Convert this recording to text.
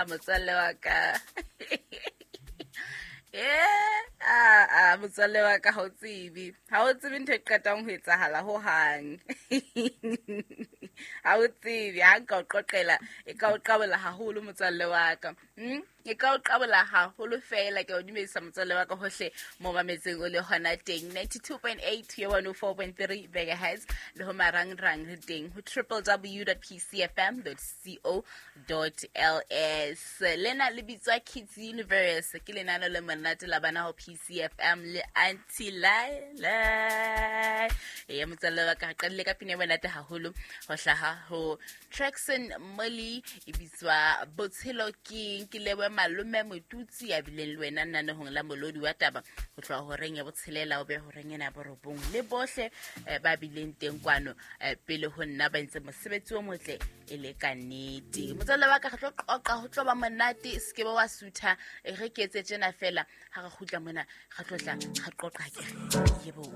Motswalle wa ka. A motswalle wa ka, ha o tsebe, ha o tsebe ntho e qetang ho etsahala ho hang. Ha o tsebe, ha nka o qoqela e ka o qabola haholo, motswalle wa ka. E ka o qabola haholo fela. Ke o dumedisa, motswalle wa ka, hohle mo mametseng o le hona teng, 92.8 yo 104.3 megahertz, le ho marangrang re teng ho www.pcfm.co.ls. Lena le bitswa Kids Universe, ke lenano le monate la bana ho PCFM le Auntie Laila. Ya motswalle wa ka, re qadile ka pina e monate haholo ho hlaha ho Traxon Molly, e bitswa Botshelo Keng. Ke lebohe malome Motutsi ya bileng le wena nanehong la molodi wa taba ho tloha horeng ya botshelela o be horeng ena ya borobong, le bohle ba bileng teng kwano pele ho nna, ba entse mosebetsi o motle e le ka nnete. Motswalle wa ka, re tlo qoqa, ho tlo ba monate, se ke be wa sutha. Re ke etse tjena fela, ha re kgutla mona re tlo tla re qoqa. Kere yebo.